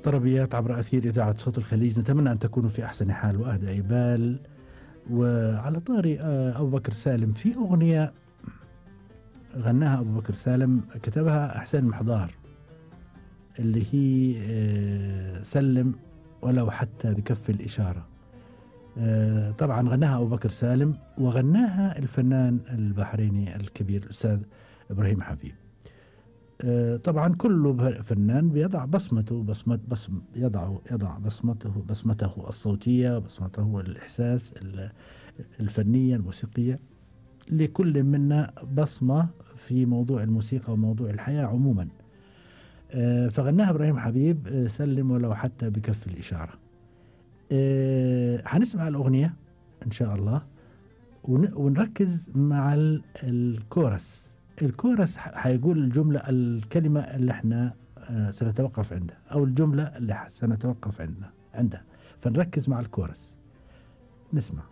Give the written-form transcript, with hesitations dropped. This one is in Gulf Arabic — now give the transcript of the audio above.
طربيات عبر أثير إذاعة صوت الخليج، نتمنى أن تكونوا في أحسن حال وأهدى بال. وعلى طاري أبو بكر سالم، في أغنية غناها أبو بكر سالم كتبها حسين محضار، اللي هي سلم ولو حتى بكف الإشارة. طبعا غناها أبو بكر سالم، وغناها الفنان البحريني الكبير الأستاذ إبراهيم حبيب. طبعا كل فنان بيضع بصمته، يضع بصمته الصوتية، بصمته الإحساس الفنية الموسيقية. لكل منا بصمة في موضوع الموسيقى وموضوع الحياة عموما. فغناها إبراهيم حبيب، سلم ولو حتى بكف الإشارة. هنسمع الأغنية إن شاء الله، ونركز مع الكورس. حيقول الكلمة اللي احنا سنتوقف عندها، أو الجملة اللي سنتوقف عندها، فنركز مع الكورس. نسمع.